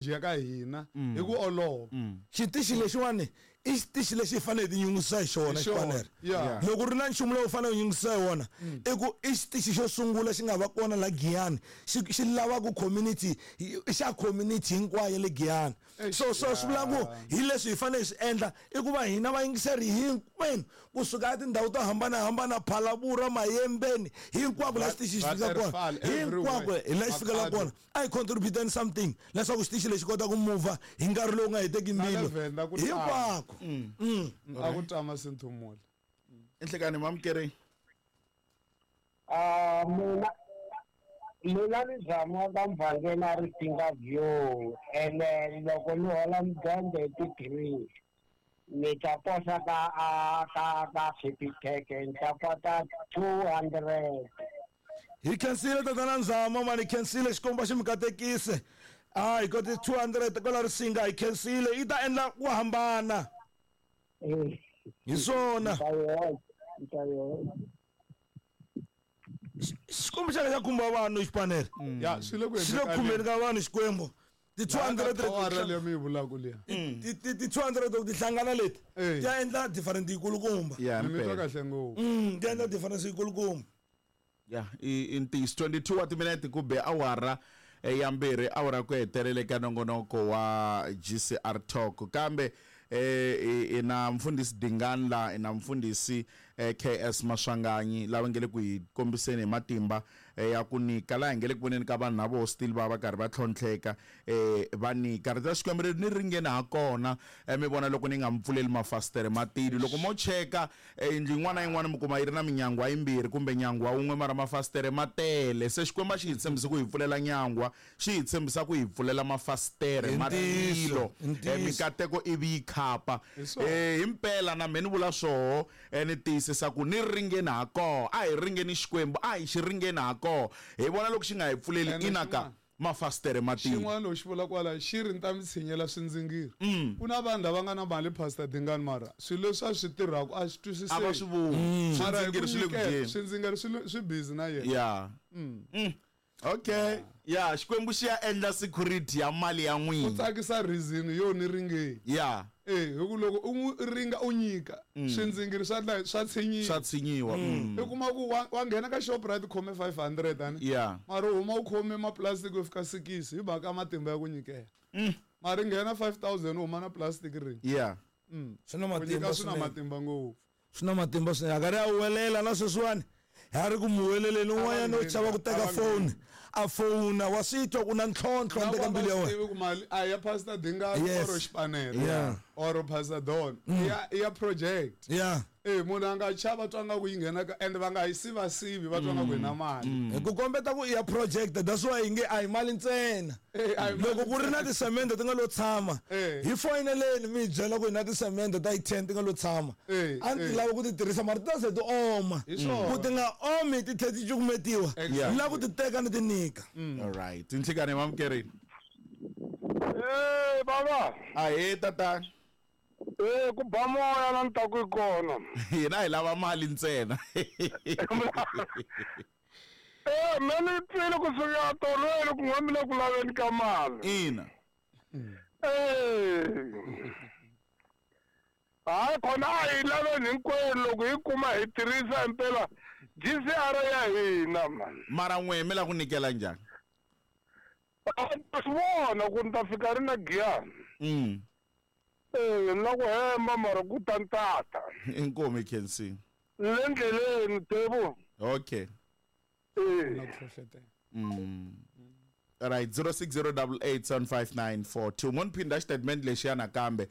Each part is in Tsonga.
Ya ka hina hi ku olova. Xitichi lexiwani i xitichi lexi hi fanele hi tinyungubyisa hi xona Hi xona, xipanere. yeah. Loko ri na nchumu lowu u fanele u nyungubyisa hi wona i ku i xitichi xo sungula xi nga va kona la Giyani xi xi lavaka community i xa community hinkwayo ya le Giyani. So so swi vula ku hi leswi hi fanele hi swi endla i ku va hina vayingiseri hinkwenu kusuka etindhawu to hambanahambana Phalaborwa, Mayembeni hinkwako la xitichi xi fika kona Waterfall, hinkwako everywhere. hi la xi fikela kona. A hi contributeni something leswaku xitichi lexi kota ku muvha hi nkarhi lowu nga heteki Na le mbilu Venda ku tala. hinkwako. A ku tama Sinthumule. Enhlekani mamukereni. Ah, mina ni zama ka mvhangeni a ri Singa View ene loko ni hola mudende hi ti-3 ni ta posa ka a ka ka Capitec ni ta kota 200. Hi khensile tatana Nzama mani hi khensile Xikwembu a xi mi katekise. Ah hi kote 200 kwala Risinga hi khensile yi ta endla ku hambana. Hi swona. Xikwembu xa xa khumba vanhu xipanele. Ya swi le ku Xi le khumbeni ka vanhu Xikwembu. Ti 200 Awara leyi mi yi vulaka liya. Ti ti 200 loko ti hlangana leti ti ya endla different yikulukumba. Ya Mi twa mpela. kahle ngopfu. Ti endla difference yikulukumba. Ya i ntiyiso 22 wa timinete ku be awara ya mbirhi awara ku hetelele ka nongonoko wa GCR Talk kambe i na mfundhisi Dingani la i na mfundhisi KS Maswanganyi lava nge le ku hi kombiseni hi matimba ya ku nyika laha hi nge le ku voneni ka vanhu na voho still va va karhi va tlhontlheka va nyika rito ra Xikwembu ri ni ringeni ha kona mi vona loko ni nga mi pfuleli mafasitere matilo loko mo cheka yindlu yin'wana na yin'wana mi kuma yi ri na minyangwa yimbirhi kumbe nyangwa wun'we mara mafasitere ma tele se Xikwembu a xi hi tshembisi ku hi pfulela nyangwa xi hi tshembisa ku hi pfulela mafasitere ma tilo mikateko ivi yi khapa himpela na mehe ni vula swoho ni tiyisisa ku ni ringeni ha koho a hi ringeni Xikwembu a hi xi ringeni ha koho hi vona loko xi nga hi pfuleli ina ka mafasitere ma tilo. Xin'wana loko xi vula kwala xi ri ni ta mi tshinyela swindzingiri. Ku na vanhu lava nga na mali Pastor Dingani mara swilo leswi a swi tirhaka a swi twisiseki. A va swi voni. Mara hi ku Swindzingiri swi le ku nyikela, dyeni. swindzingiri swi busy na yena. Ya. Okay. Ya, Xikwembu xi ya endla security ya mali ya Ku n'wina. tsakisa reason yo ni ringeni. Ya. Eh, hi ku loko u n'wi ringa u nyika, swindzingiri swa dla swa tshinyiwa. Swa tshinyiwa. U kuma ku wa nghena ka Shoprite u khome 500 ani. Ya. Mara u huma u khome ma-plastic yo fika 6 hi mhaka matimba ya ku nyikela. Mara nghena 5000 u huma na plastic ring. Ya. Swi na Ku matimba nyika swi na swinene. matimba ngopfu. Swi na matimba swinene. A karhi a huwelela na sweswiwani ha ri ku mu huweleleni un'wanyana u chava ku teka foni a fona wa swi twa ku na ntlhontlho handle ka mbilu ya wena. Tivi ku mali a ya Pastor Dingani Yes. or Xipanere Yeah. or Pastor Don ya project. Yeah. Eh munhu a nga chava twa nga ku yi nghena ka and va nga yi siva sivi va twa nga ku hi na mali. Hi ku kombeta ku i ya project that's why hi nge a hi mali ntsena. Eh, a hi mali Loko ku ri na tisemende ti nga lo tshama Eh. hi foyineleni mi hi byela ku hi na tisemende ta yi 10 ti nga lo tshama. Eh, A ni ti eh. lava ku ti tirhisa mara ti ta ze ti oma. Hi swona. Ku ti nga omi ti tlhela ti cukumetiwa. Exactly. Ni lava ku ti teka ni ti nyika. All right. Tinhlikani mamukerini. Eh baba. Ahee tatana. Eh ku ba moya la ni ta ku yi kona. Hina hi lava mali ntsena. Eh me ni twile kusuka tolweni ku n'we mi le ku laveni ka mali. Ina. Eh. Hayi khona a hi laveni hinkwenu loko hi kuma hi tirhisa impela GCR ya hina man. Mara n'we mi la ku nyikela njhani? A swi vona ku ni ta fika ri na Giyani. Eh na ku hemba mara ku ta ntata. Inkomu hi khensile. Le ndleleni Tebu. Okay. Eh. Na ku hlohletela. Right 0608875942 mo ni phinda xitatimende lexiya nakambe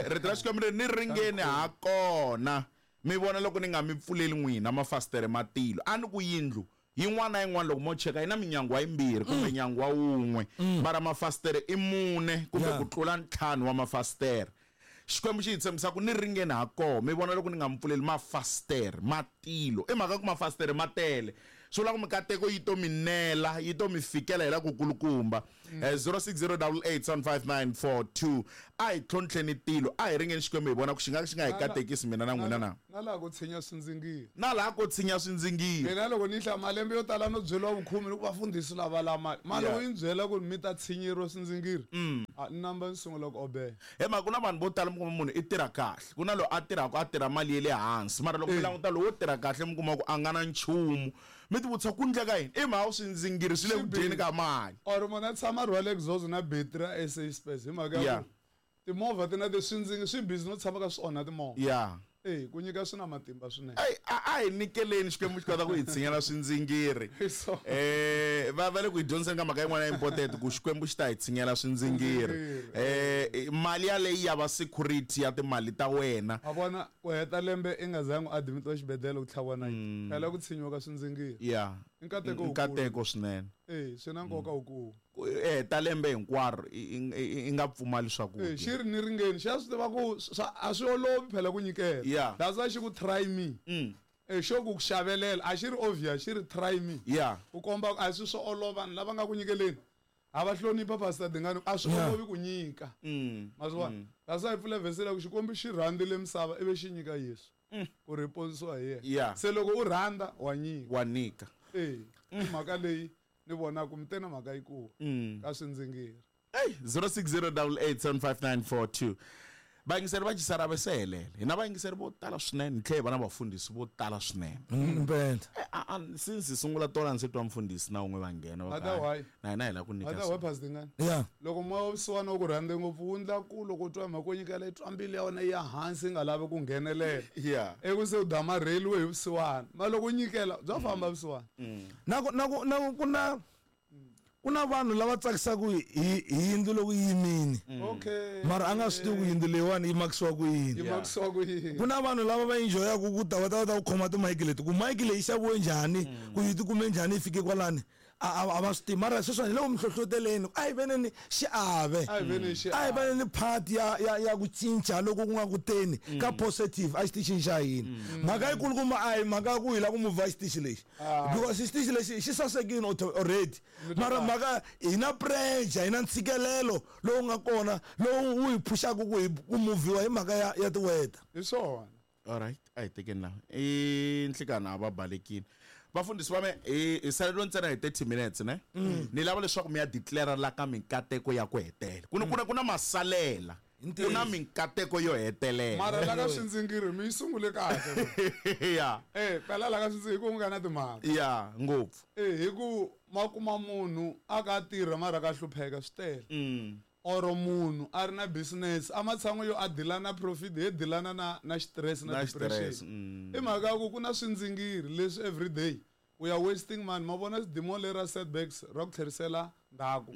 rito ra Xikwembu ri ni ringeni ha kona mi vona loko ni nga mi pfuleli n'wina mafasitere ma tilo a ni ku yindlu yin'wana na yin'wana loko mo cheka yi na minyangwa yimbirhi kumbe nyangwa wun'we mara mafasitere i mune kumbe ku tlula ntlhanu wa mafasitere Xikwembu xi hi tshembisa ku ni ringeni ha koho mi vona loko ni nga mi pfuleli mafasitere ma tilo i mhaka ku mafasitere ma tele Swi vula ku mikateko yi to mi nela, yi to mi fikela hi la ku kulukumba. 0608875942. A hi tlhontlheni tilo, a hi ringeni Xikwembu hi vona ku xi nga xi nga hi katekisi mina na n'wina na. Na laha ku tshinya swindzingiri. Na laha ko tshinya swindzingiri. Mina loko ni hlaya malembe yo tala no byeriwa vukhume ni ku vafundhisi lava la mali. Mali loko yi ni byela ku mi ta tshinyeriwa swindzingiri. A ni namba ni sungula ku obeya. He mhaka ku na vanhu vo tala mi kuma munhu i tirha kahle. Ku na loyi a tirhaka a tirha mali ya le hansi mara loko mi languta lowo tirha kahle mi kuma ku a nga na nchumu. Mi ti vutisa ku ndleka yini? I mhaka swindzingiri swi le ku dyeni ka mali. Or munhu a tshama a rhwale exhaust na battery ya SA Space hi mhaka ya ku timovha ti na ti swindzingiri swi busy no tshama ka swi onha timovha. E ku nyika swi na matimba swinene. Ey a hi nyikeleni Xikwembu xi kota ku hi tshinyela swindzingiri. Va va le ku hi dyondziseni ka mhaka yin'wana ya important ku Xikwembu xi ta hi tshinyela swindzingiri. Mali yaleyi ya va security ya timali ta wena. Wa vona ku heta lembe i nga zangi u admitiwa xibedhlele ku tlhaviwa nayiti. Phela ku tshinyiwa ka swindzingiri. I nkateko wukulu. Nkateko swinene. E swi na nkoka wukulu. Ku heta lembe hinkwaro i nga pfumali swakudya. E xi ri ni ringeni xa swi tiva ku a swi olovi phela ku nyikela. That's why xi ku try me. E xo ku xavelela a xi ri obvious xi ri try me. Ku komba ku a swi swo olova vanhu lava nga ku nyikeleni a va hlonipha Pastor Dingani a swi olovi ku nyika. Ma swi vona? That's why hi pfula verse leyi ku Xikwembu xi rhandzile misava ivi xi nyika Yesu ku ri hi ponisiwa hi yena. Se loko u rhandza wa nyika. Wa nyika. E i mhaka leyi ni vona ku mi te na mhaka yikulu ka swindzingiri. Ey 0608875942. Vayingiseri va Cisarave se helele. Hi na vayingiseri vo tala swinene, hi tlhela hi va na vafundhisi vo tala swinene. Impela. Since hi sungula tolo a ndzi se twa mufundhisi na wun'we va nghena va ku, Ata why? Na hina hi lava ku nyika Ata why Pastor Dingani? Loko moya wa vusiwana wu ku rhandze ngopfu wu ndla ku loko u twa mhaka yo nyikela yi twa mbilu ya wena yi ya hansi yi nga lavi ku nghenelela. Ivi se u damarheliwe hi vusiwana. Mara loko u nyikela bya famba vusiwana. Na ku na ku na ku na ku na vanhu lava tsakisaka hi hi yindlu loko yi yimini. Mara a nga swi tivi ku yindlu leyiwani yi makisiwa ku yini. Yi makisiwa ku yini. Ku na vanhu lava va enjoyaka ku ta va ta va ta ku khoma timayiki leti ku mayiki leyi xaviwe njhani ku yi tikume njhani yi fike kwalani a va swi tivi mara sweswiwani hi le ku mi hlohloteleni a hi veneni xiave A hi veneni xiave. a hi veneni part ya ya ya ku cinca loko ku nga ku teni ka positive a xitichini xa hina mhaka yikulukumba a hi mhaka ya ku hi lava ku muvha xitichi lexi because xitichi lexi xi sasekile already mara mhaka hi na pressure hi na ntshikelelo lowu nga kona lowu wu hi phuxaka ku hi ku muvhiwa hi mhaka ya ya ti-weather. Hi swona. Alright, a hi tekeni laha. I nhlikana a va balekile. Vafundhisi va me hi hi saleriwe ntsena hi 30 minutes ne? Ni lava leswaku mi ya declare la ka minkateko ya ku hetela. Ku na ku na ku na masalela. Ku na minkateko yo hetelela. Mara la ka swindzingiri mi yi sungule kahle. Eh, phela la ka swindzingiri hi ku nga na timhaka. Ya, ngopfu. Eh, hi ku ma kuma munhu a ka tirha mara ka hlupheka swi tele. Or munhu a ri na business a matshan'wi yo a deal na profit he dealana na na stress na Na stress, depression. I mhaka ya ku ku na swindzingiri leswi everyday we are wasting money. Ma vona demon leri ra setbacks ra ku tlherisela ndzhaku.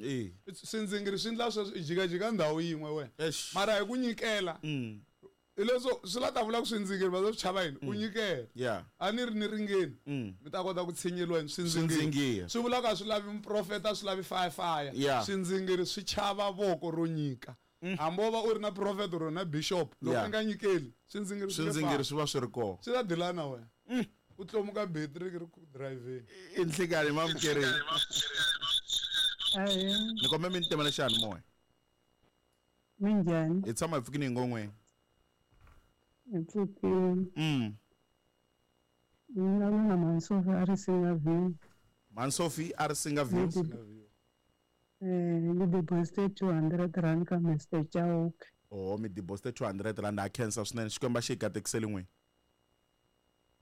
Swindzingiri swi endla sweswo i jikajika ndhawu yin'we wena. Eish. Mara hi ku nyikela hi leswo swi la ta vula ku swindzingiri va swi chava yini u nyikela. A ni ri ni ringeni mi ta kota ku tshinyeliwa hi swindzingiri. Swindzingiri. Swi vula ku a swi lavi muprofeta a swi lavi fire fire. Swindzingiri swi chava voko ro nyika. Hambi wo va u ri na prophet or na bishop loko i nga nyikeli swindzingiri swi nge Swindzingiri fambi. swi va swi ri kona. Swi ta deal na wena. U tlomuka battery ri ku driveni. I nhlikani mamukerini. Ahee, Ni kombe mi ni timela xiyanimoya. minjhani? Hi tshama hi pfukini hi ngon'weni. Hi pfukile. Ni vulavula na Mhani Sophie a Risinga View. Mhani Sophie a Risinga View. Ni deposite 200 rand ka Mr Chauke. Oh, mi deposite 200 rand ha khensa swinene. Xikwembu a xi hi katekiseli n'wina.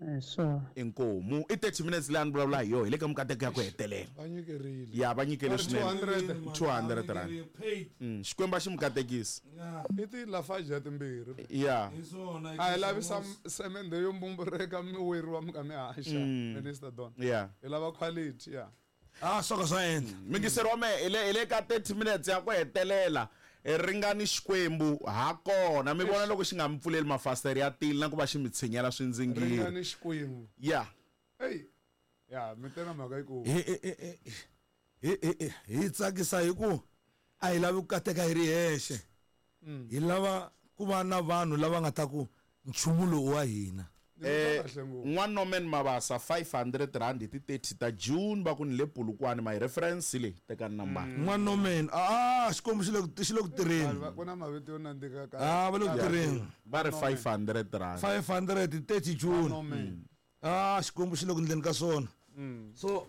Hi swona. Inkomu. I 30 minutes leyi a ni vulavula hi yona hi le ka mikateko ya ku hetelela. Va nyikerile. Ya va nyikele Va ri swinene. 200. 200 rand. Xikwembu a xi mi katekisi. I ti Lafarge ya timbirhi. A hi lavi semende yo mbumbureka mi weriwa mi ka mi haxa, Minister Don. Hi lava quality, ya. Swo ka swa endla. Mingiseri wa mehe, hi le ka 30 minutes ya ku hetelela. Ringani Xikwembu ha kona. Mi vona loko xi nga mi pfuleli mafasitere ya tilo na ku va xi mi tshinyela swindzingiri. Ringani Xikwembu. Ey. Ya, mi te na mhaka yikulu. Hi tsakisa hi ku a hi lavi ku kateka hi ri hexe. Hi lava ku va na vanhu lava nga ta ku nchumu lowu wa hina. N'wa Norman Mabasa 500 rand hi ti 30 ta June va ku ni le Polokwane my reference leyi tekani nambara. N'wa Norman ah xikwembu xi le ku xi le ku tirheni. Ku na mavito yo nandzika ka. Ah va le ku tirheni. Va ri 500 rand. 500 30 June. Ah xikwembu xi le ku ndleni ka swona. So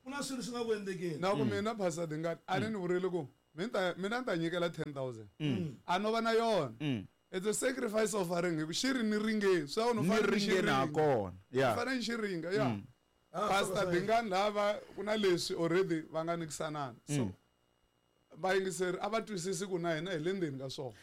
ku na swilo swi nga ku endlekeni. Na ku mina Pastor Dingani a ni ni vurile ku mina mina ni ta nyikela 10000. A no va na yona. It's a sacrifice offering hi ku xi ri ni ringeni swi ni fanele ni xi ringa kona. Yeah. Fanele ni xi ringa yeah. Pastor Dingani lava ku na leswi already va nga nikisanana. So vayingiseri a va twisisi ku na hina hi le ndzeni ka swona.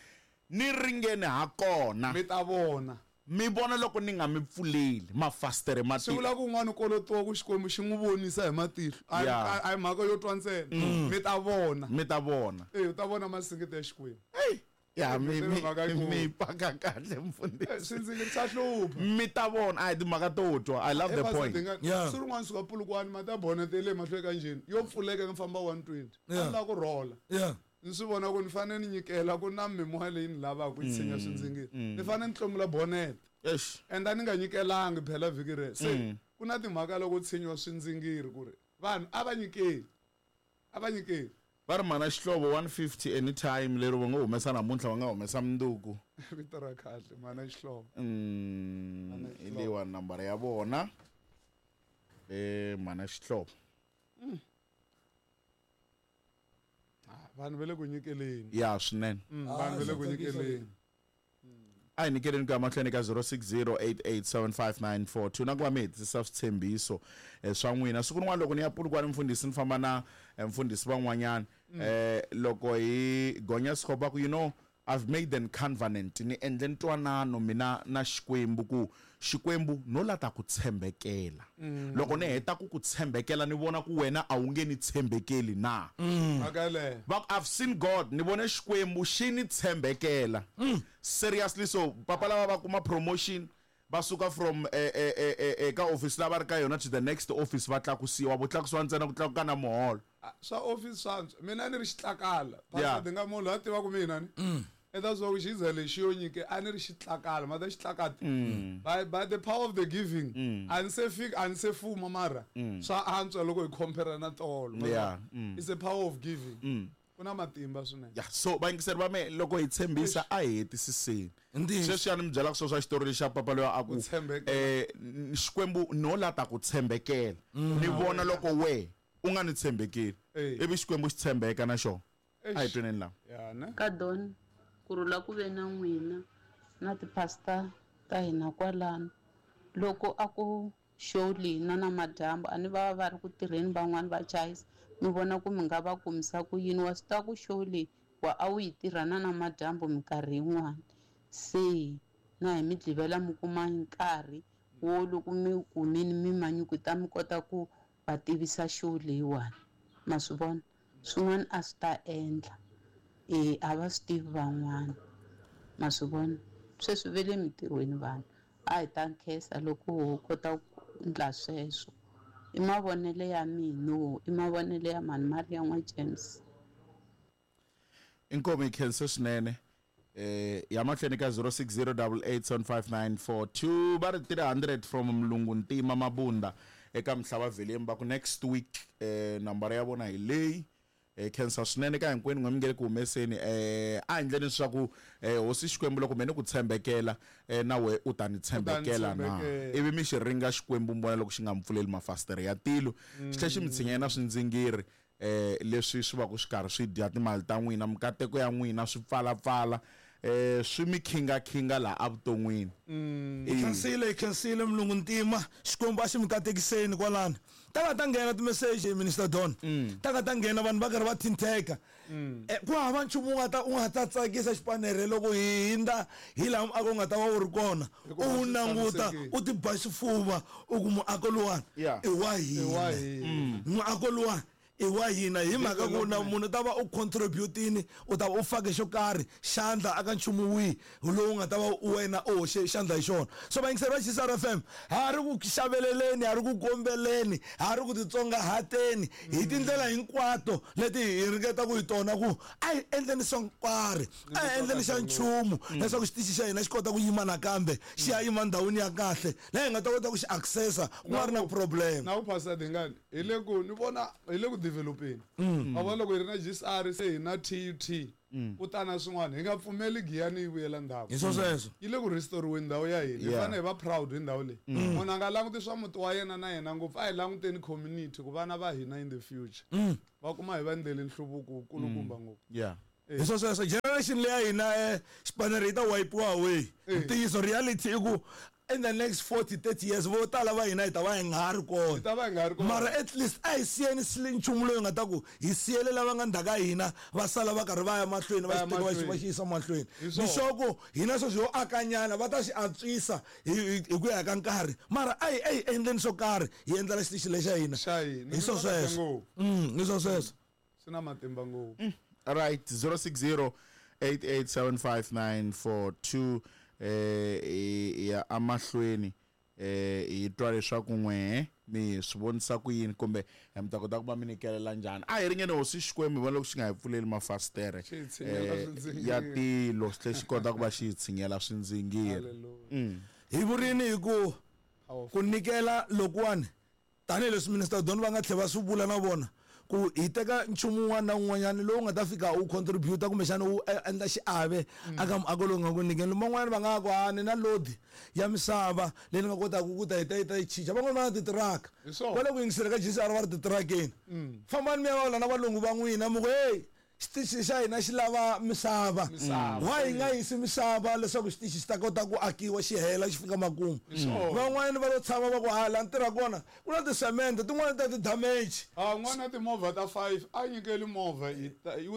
Ni ringeni ha kona. Mi ta vona. Mi vona loko ni nga mi pfuleli mafasitere ma Swi vula ku un'wana u kolotiwa ku Xikwembu xi n'wi vonisa hi matihlo. A hi mhaka yo twa ntsena. Mi ta vona. Mi ta vona. E u ta vona masingita ya Xikwembu. Ya mi mi mi paka kahle mfundhisi. Swi ndzi swa hlupha. Mi ta vona a hi timhaka to twa. I love the point. Yeah. Swi rin'wana suka Polokwane ma ta bonete le mahlweni ka njhini yo pfuleka ni famba 120. A ni lava ku rhola. Yeah. Ni swi vona ku ni fanele ni nyikela ku na mimoya leyi ni lavaka ku yi tshinya swindzingiri. Ni fanele ni tlomula bonete. Eish. And a ni nga nyikelangi phela vhiki rero. Se ku na timhaka loko tshinyiwa swindzingiri ku ri vanhu a va nyikeli. A va nyikeli. Va ri mhana Xihlovo 150 anytime lero va nga humesa namuntlha va nga humesa mundzuku. Vito ra kahle mhana Xihlovo. Hi leyiwani nambara ya vona. Mhana Xihlovo. Vanhu va le ku nyikeleni. Ya swinene. Vanhu va le ku nyikeleni. A hi nyikeleni ku ya mahlweni ka 0608875942 na ku va mi hetisisa switshembiso swa n'wina. Siku rin'wana loko ni ya Polokwane mfundhisi ni famba na mfundhisi van'wanyana loko hi gonya Sikhopa ku you know I've made an covenant ni endle ntwanano mina na Xikwembu ku Xikwembu no la ta ku tshembekela. Loko ni heta ku ku tshembekela ni vona ku wena a wu nge ni tshembekeli na. Mhaka yeleyo. Va ku I've seen God ni vone Xikwembu xi ni tshembekela. Seriously so papa lava va kuma promotion va suka from ka office la va ri ka yona to the next office va tlakusiwa vo tlakusiwa ntsena ku tlakuka na muholo. Swa office swa antswa mina ni ri xitlakala. Pastor Dinga munhu loyi a tivaka mina ni. Eka swa ku xiza lexi yo nyike a ni ri xitlakala ma ta xitlakati. By the power of the giving a ni se fika a ni se fuma mara swa antswa loko hi compare na tolo. Yeah. It's a power of giving. Ku na matimba swinene. Yeah, so vayingiseri va me loko hi tshembisa a hi hetisiseni. Sweswi ya ni mi byelaka swo swa xitori lexa papa loyi a ku Xikwembu no la ta ku tshembekela. Ni vona loko we u nga ni tshembekeli. Ivi Xikwembu xi tshembeka na xona. A hi tweneni laha. Ka Don, ku rhula ku ve na n'wina na ti-pastor ta hina kwalano. Loko a ku show leyi na namadyambu a ni va va ri ku tirheni van'wani va chayisa mi vona ku mi nga va kumisa ku yini. Wa swi tiva ku show leyi wa a wu yi tirha na namadyambu minkarhi yin'wani. Se na hi Mugqivela mi kuma nkarhi wo loko mi wu kumile mi manyukuta mi kota ku va tivisa show leyiwani. Ma swi vona? Swin'wana a swi ta endla. E a va swi tivi van'wana. Ma swi vona? Sweswi ve le mintirhweni vanhu. A hi ta nkhensa loko ho kota ku endla sweswo. I mavonelo ya mina, i mavonelo ya mhani Maria n'wa James. Inkomu yi khense swinene. Ya mahlweni ka 0608875942 va ri 300 from Mlungu Ntima Mabunda eka Mhlava Veleni va ku next week nambara ya vona hi leyi. Khensa swinene ka hinkwenu n'we mi nge le ku humeseni. A hi endleni leswaku Hosi Xikwembu loko me ni ku tshembekela na we u ta ni tshembekela na. Ivi mi xi ringa Xikwembu mi vona loko xi nga mi pfuleli mafasitere ya tilo xi tlhela xi mi tshinya na swindzingiri leswi swi va ku swi karhi swi dya timali ta n'wina, mikateko ya n'wina swi pfalapfala swi mi khingakhinga laha evuton'wini. Hi khensile, hi khensile Mulungu Ntima. Xikwembu a xi mi katekiseni kwalano. Ta nga ta nghena timeseji Minister Don. Ta nga ta nghena vanhu va karhi va thintheka. Ku hava nchumu wu nga ta u nga ta tsakisa xipanere loko hi hindza hi laha muako wu nga ta va wu ri kona. U wu languta u ti ba xifuva u ku muako luwani i wa hina. Muako luwani. I wa hina hi mhaka ku na munhu u ta va u contributini, u ta va u fake xo karhi xandla aka nchumu wihi lowu nga ta va wena u hoxe xandla hi xona. So vayingiseri va GCR FM, ha ri ku xaveleleni, ha ri ku kombeleni, ha ri ku titsongahateni hi tindlela hinkwato leti hi ringeta ku hi tona ku a hi endleni swo nkarhi, a hi endleni xa nchumu leswaku xitichi xa hina xi kota ku yima nakambe, xi ya yima ndhawini ya kahle laha hi nga ta kota ku xi accessa ku nga ri na problem. Na ku Pastor Dingani, hi le ku ni vona hi le ku developeni. Ma vona, loko hi ri na GCR, se hi na TUT, ku ta na swin'wana, hi nga pfumeli Giyani yi vuyela ndzhaku. Hi swo sweswo. Yi le ku restoriweni ndhawu ya hina. Hi fanele hi va proud hi ndhawu leyi. Munhu a nga languti swa muti wa yena na yena ngopfu, a hi languteni community ku vana va hina in the future va kuma hi va ndlele nhluvuko wukulukumba ngopfu. Hi swo sweswo, generation leya hina, xipanere yi ta wipiwa away. Ntiyiso, reality i ku in the next 40 30 years vo tala va hina hi ta va hi nga ha ri kona. Hi ta va hi nga ha ri kona. Mara at least a hi siyeni nchumu loyi nga ta ku hi siyele lava nga ndzhaku ka hina, va sala va karhi va ya mahlweni, va Va ya xi teka, va xi mahlweni. va xi yisa mahlweni. Hi Ni swona. sure ku hina sweswi ho akanyana, va ta xi antswisa hi ku ya ka nkarhi, mara a hi endleni swo karhi hi endlela xitichi lexa hina. Xa hina. Hi swo Ni vona kahle sweswo. ngopfu. Hi swo sweswo. Swi na matimba ngopfu. Right, 060 8875942. Ya amahlweni, hi twa leswaku n'wehe mi swi vonisa ku yini kumbe mi ta kota ku va mi nyikelela njhani. A hi ringene hosi Xikwembu, hi vona loko xi nga hi pfuleli mafasitere Xi hi tshinyela swindzingiri. ya tilo, xi tlhela xi kota ku va xi hi tshinyela swindzingiri. Hallelujah. Hi vurini hi ku Powerful. ku nyikela lokuwani, tanihileswi Minister Don va nga tlhela va swi vula na vona ku hi teka nchumu wun'wana na wun'wanyana lowu nga ta fika u contribute kumbexana u endla xiave aka muako lowu nga ku nyikeni. Van'wanyana va nga ku a ni na load ya misava leyi ni nga kotaka ku ta hi ta yi ta yi chicha. Van'wani va na titiraka, Hi swona. va le ku yingisela ka GCR, va ri titirakeni, fambani mi ya vulavula na valungu va n'wina, mi ku hey, xitichi xa hina xi lava misava. Misava. Why hi nga yisi misava leswaku xitichi xi ta kota ku akiwa, xi hela, xi fika makumu? Swona. Van'wanyana va lo tshama va ku hala ni tirha kona ku na tisemende tin'wani ta ti-damage. A n'wana timovha ta 5 a nyikeli movha, yi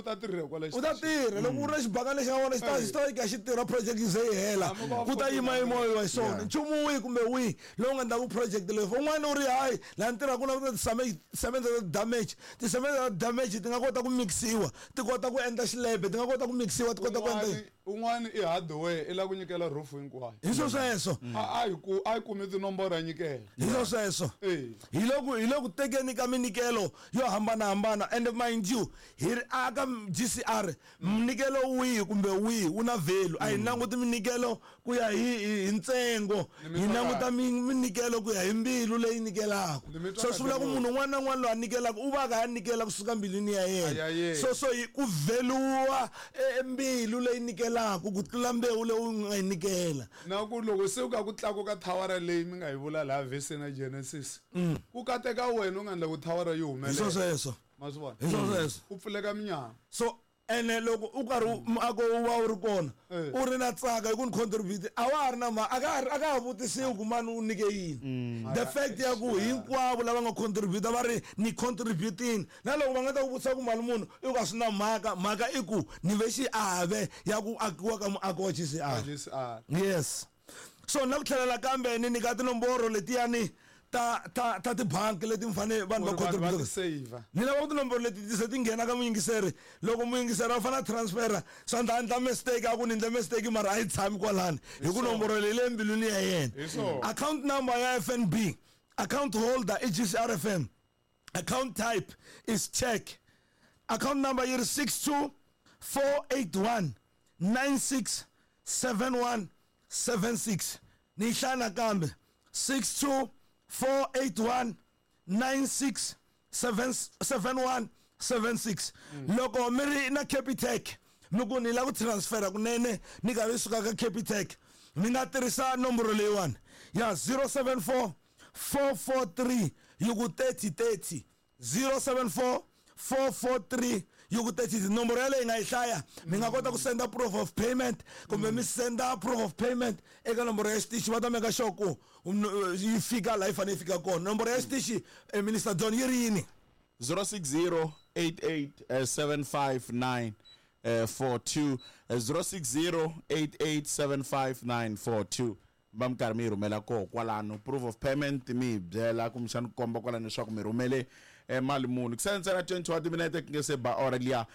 ta tirha kwala. U ta tirha loko u ri na xibakani lexi nga vona, xi ta xi xi tirha project yi ze yi hela. Hambi va Ku ta yima yima hi swona nchumu wihi kumbe wihi lowu nga endlaku project leyi. Un'wana u ri hayi, laha ni tirhaka ku na tisemende ta damage, tisemende ta damage ti nga kota ku mixiwa, ti kota ku endla xilebe, ti nga kota ku mixiwa, ti kota ku endla. Un'wani i hardware, i lava ku nyikela roof hinkwayo. Hi swo sweswo. A hi kumi tinomboro, a nyikela. Hi swo sweswo. Hi le ku tekeni ka minyikelo yo hambanahambana, and mind you, hi ri aka GCR, minyikelo wihi kumbe wihi wu na value. A hi languti minyikelo ku ya hi ntsengo, Ni hi mi twa languta kahle. minyikelo ku ya hi mbilu leyi nyikelaka. Ni mi twa So swi vula ku kahle. munhu un'wana na un'wana loyi a nyikelaka u va a kha a nyikela kusuka mbilwini ya Ya yena. yena. So hi ku vheluwa mbilu leyi nyikelaka ku tlula mbewu leyi u nga yi nyikela. Na ku loko se u ka ku tlakuka thawara leyi mi nga yi vula laha veseni ya Genesis, ku kateka wena u nga endla ku thawara yi Hi swo humelela. sweswo. Ma swi vona? Hi swo sweswo. Ku pfuleka minyama. So ene loko u karhi muako wu va wu ri kona, u ri na tsaka hi ku ni contribute, a wa ha ri na ma a ka ha vutisiwi ku mani u nyike yini. The fact ya ku hinkwavo lava nga contribute va ri ni contributini, na loko va nga ta ku vutisa ku mali munhu i ku a swi na mhaka, mhaka i ku ni ve xiave ya ku akiwa ka muako wa GCR. GCR. Yes, so na ku tlhelela kambe ni nyika tinomboro letiyani ta tibanki leti mi fanele vanhu va Ku ri vanhu va contribute. ti save. Ni lava ku tinomboro leti ti se ti nghena ka muyingiseri. Loko muyingiseri a fanele a transfera, swa ndla endla mistake, a ku ni endle mistake, mara a yi tshami kwalani hi ku nomboro leyi le mbilwini ya yena. Hi swona. Account number ya FNB, account holder i GCRFM, account type is check, account number yi ri 62 481 96 71 76. Ni yi hlaya nakambe: 62 481 96 71 76. Loko mi ri na Capitec, mi ku ni lava ku transfera kunene ni karhi suka ka Capitec, mi nga tirhisa nomboro leyiwani ya 074 443 yi ku 30 30, 074 443 yi ku 30. Nomboro yaleyo yi nga yi hlaya, mi nga kota ku senda proof of payment kumbe mi senda proof of payment eka nomboro ya xitichi, va ta meka sure ku yi fika laha yi fanele yi fika kona. Nomboro ya xitichi, Minister John, yi ri yini? 060 88 759 42, 060 8875942. Va mi karhi mi yi rhumela koho kwalano proof of payment, mi hi byela kumbexani ku komba kwalano leswaku mi rhumele. Mali muni ku sale ntsena 20 wa timinete ku nge se ba ora liya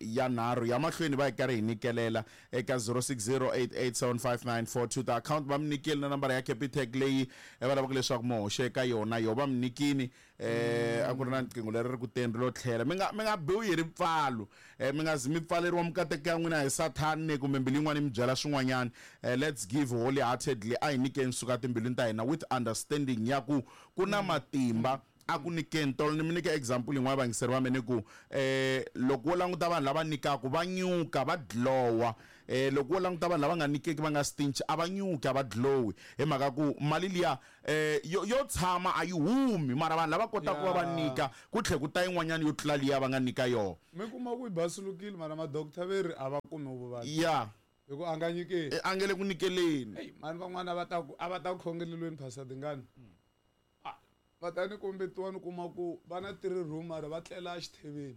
ya nharhu ya mahlweni va hi karhi hi nyikelela eka 0608875942 ta account va mi nyikeli na nambara ya Capitec leyi va lavaka leswaku mi hoxa eka yona yo va mi nyikini. A ku ri na riqingho leri ri ku teni ri lo tlhela. Mi nga biwi hi ripfalo, mi nga zi mi pfaleriwa mikateko ya n'wina hi sathani kumbe mbilu yin'wana yi mi byela swin'wanyana. Let's give wholeheartedly. A hi nyikeni suka timbilwini ta hina with understanding ya ku ku na matimba a ku nyikeni. Tolo ni mi nyike example yin'wana, vayingiseri va mina, ku loko wo languta vanhu lava nyikaka va nyuka, va glowa. Loko wo languta vanhu lava nga nyikeki, va nga stingy, a va nyuki, a va glowi, hi mhaka ku mali liya yo tshama, a yi humi. Mara vanhu lava kotaka ku va va nyika, ku tlhe ku ta yin'wanyana yo tlula liya va nga nyika yona. Mi kuma ku yi basulukile, mara ma-doctor ve ri a va kumi vuvabyi hi ku a nga nyikeli. A nge le ku nyikeleni. Eyi mani, van'wana va ta ku a va ta ku khongelelweni, Pastor Dingani. Ah, va ta ni kombetiwa, ni kuma ku va na three room, mara va tlela exitheveni.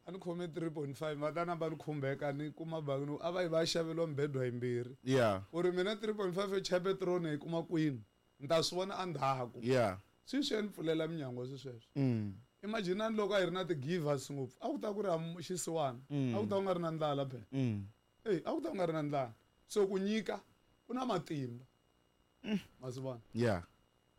A ni khome 3.5, va ta namba ni khumbeka, ni kuma bangi ni a va yi va ya xaveliwa mibedwa yimbirhi. Ku ri mina 3.5 yo chaya petiroli hi kuma kwini, ni ta swi vona endzhaku. Sweswi ya ni pfulela minyangwa swi sweswo. Imaginani loko a hi ri na ti-givers ngopfu, a ku ta ku ri xisiwana, a ku ta ku nga ri na ndlala phela. Eyi, a ku ta ku nga ri na ndlala. So ku nyika ku na matimba, ma swi vona.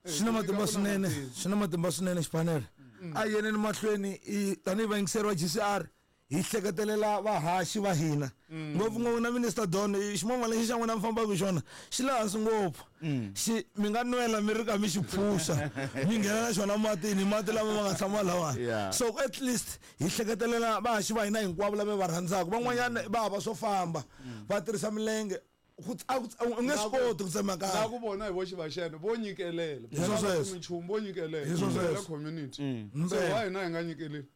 Swi na matimba swinene, swi na matimba swinene. Xipanele a yeneni mahlweni i tanihi vayingiseri va GCR, hi hleketelela vahaxi va hina, ngopfungopfu na Minister Don. Ximovha lexi xa n'wina mi fambaka hi xona xi le hansi ngopfu, xi mi nga nwela mi ri ka mi xi phuxa, mi nghena na xona matini, mati lama ma nga tshama lawani. So at least hi hleketelela vahaxi va hina hinkwavo lava va rhandzaka. Van'wanyana va hava swo famba, va tirhisa milenge. Ku a ku u nge swi koti ku tsemakanya. Na ku vona hi voxe vaxene vo nyikelela. Hi swo sweswo. Minchumu vo nyikelela. Hi swo Nyikelela sweswo. community. So why hina hi nga nyikeleli?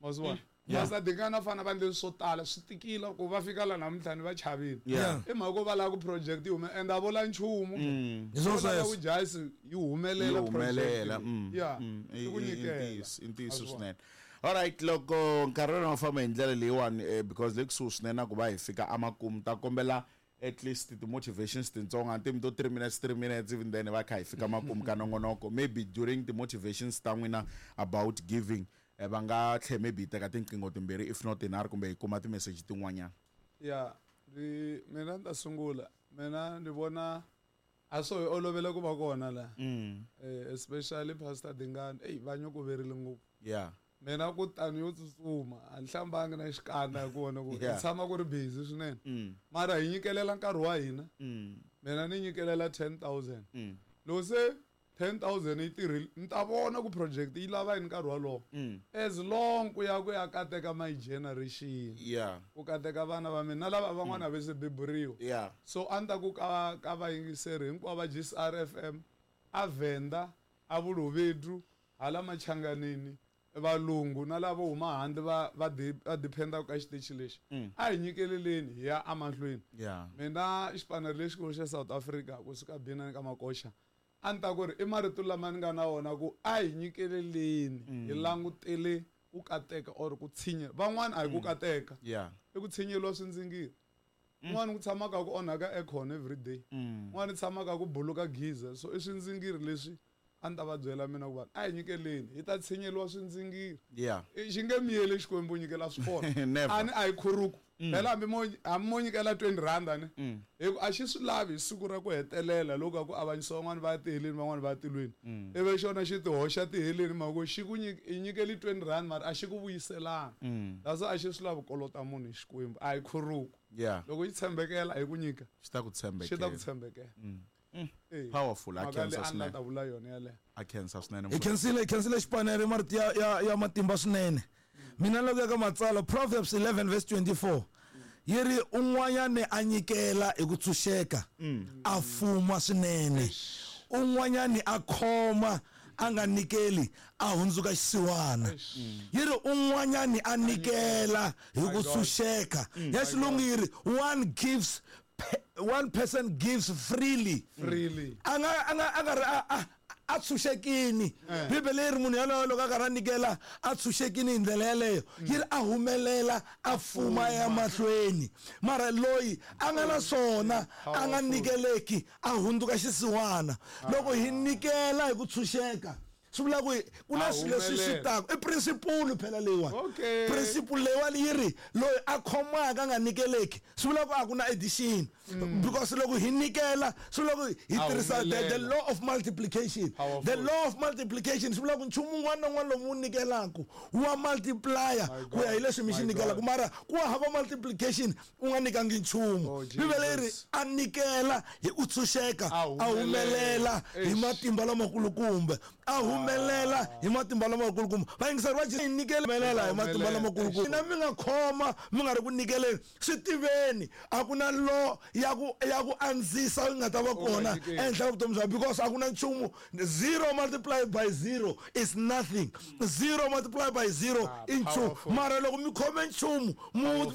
Ma swi vona, Pastor Dingani fana va endle swo tala, swi tikile ku va fika la namuntlha ni va chavile. I mhaka ku va lava ku project yi hume, and a vula nchumu. Hi swo Va lava sweswo. ku jasi yi humelela Yi humelela project leyi. Ya, i ku i nyikela. ntiyiso, i ntiyiso Ma swi vona. swinene. Alright, loko nkarhi wona wu famba hi ndlela leyiwani, because le kusuhi swinene na ku va hi fika amakumu, ta kombela at least ti-motivations tintsongo, antimi to 3 minutes, 3 minutes, even then va kha hi fika makumu ka nongonoko. Maybe during the-motivations ta n'wina about giving, va nga tlhe maybe hi teka tinqingho timbirhi, if not tinharhu, kumbe hi kuma ti-message tin'wanyana. Ya, ni mina ni ta sungula. Mina ni vona a swo hi olovela ku va kona la. Especially Pastor Dingani, eyi va nyukuverile ngopfu. Mina ku tani yo tsutsuma, a ni hlambangi na xikandza hi ku vona ku hi tshama ku ri busy swinene. Mara hi nyikelela nkarhi wa hina. Mina ni nyikelela 10,000. Loko se 10,000 yi tirhile, ni ta vona ku project yi lava yini nkarhi wolowo. As long ku ya kateka my generation, ku kateka vana va mina na lava van'wana va se beburiwa. So a ni ta ku ka vayingiseri hinkwavo va GCR FM, a Venda, a Vulovedu, hala Machanganini, valungu na lava huma handle va dependa ka xitichi lexi, a hi nyikeleleni hi ya emahlweni. Mina xipanelo lexikulu xa South Africa, kusuka Binani ka Makoxa, a ni ta ku ri i marito lama ni nga na wona ku a hi nyikeleleni, hi langutele ku kateka or ku tshinya van'wana. A hi ku kateka, i ku tshinyeliwa swindzingiri. Un'wana ku tshamaka ku onhaka aircon every day, un'wana tshamaka ku buluka geyser. So i swindzingiri leswi a ni ta va byela mina ku vanhu a hi nyikeleni, hi ta tshinyeliwa swindzingiri. Xi nge miyeli Xikwembu nyikela swi kona. Never. A ni a hi khuruku phela, hambi mo nyikela 20 rand ni hi ku a xi swi lavi hi siku ra ku hetelela loko a ku avanyisa, van'wani va ya tiheleni, van'wani va ya tilweni, ivi xona xi ti hoxa tiheleni mhaka xi ku i nyikeli 20 rand, mara a xi ku vuyiselanga. That's why a xi swi lavi kolota munhu hi Xikwembu, a hi khuruku. Loko yi tshembekela hi ku nyika, xi ta ku xi ta ku tshembekela. Tshembekela. Eh, Powerful. A mhaka leyi khensa a ni la swinene. ta vula yona yaleyo. A khensa swinene. Hi khensile, hi khensile xipanere, marito ya matimba swinene. Mina loko ya ka matsalwa, Proverbs 11 verse 24 yi ri un'wanyani a nyikela hi ku tshunxeka a fuma swinene, un'wanyani a khoma a nga nikeli a hundzuka xisiwana. Yi ri un'wanyani a nikela hi ku tshunxeka, ya xilungu yi ri one person gives freely. Freely. A nga ri a tshunxekini. Bibele yi ri munhu yaloyo loko a karhi a nyikela a tshunxekini hi ndlela yeleyo, yi ri a humelela, a fuma ya mahlweni. Mara loyi a nga na swona a nga nyikeleki a hundzuka xisiwana. Loko hi nyikela hi ku tshunxeka, Swi vula ku ku na A swilo leswi swi humelela. taka. I principle phela leyiwani. Okay. Principle leyiwani yi ri loyi a khomaka a nga nyikeleki swi vula ku a ku na addition, because loko hi nyikela swi vula ku hi A tirhisa the humelela. law of multiplication. Powerful. The law of multiplication swi vula ku nchumu wun'wana na wun'wana lowu wu nyikelaku wa multiplier My ku ya hi God. leswi mi xi My nyikelaku, God. mara ku hava multiplication u nga nyikangi nchumu. Oh, Bibele yi ri Jesus. a nyikela hi ku tshunxeka, A a humelela hi Eish. matimba lamakulukumba, a humelela hi matimba lamakulukumba. Vayingiseri va Jesu, nyikela humelela hi matimba lamakulukumba. Na mi nga khoma mi nga ri ku nyikeleni, swi tiveni a ku na law ya ku andzisa yi nga ta va kona nyikeli. ehenhla ka vutomi bya, because a ku na nchumu. Zero multiplied by zero is nothing. Zero multiplied by zero Ah, i nchumu. powerful. Mara loko mi khome nchumu mu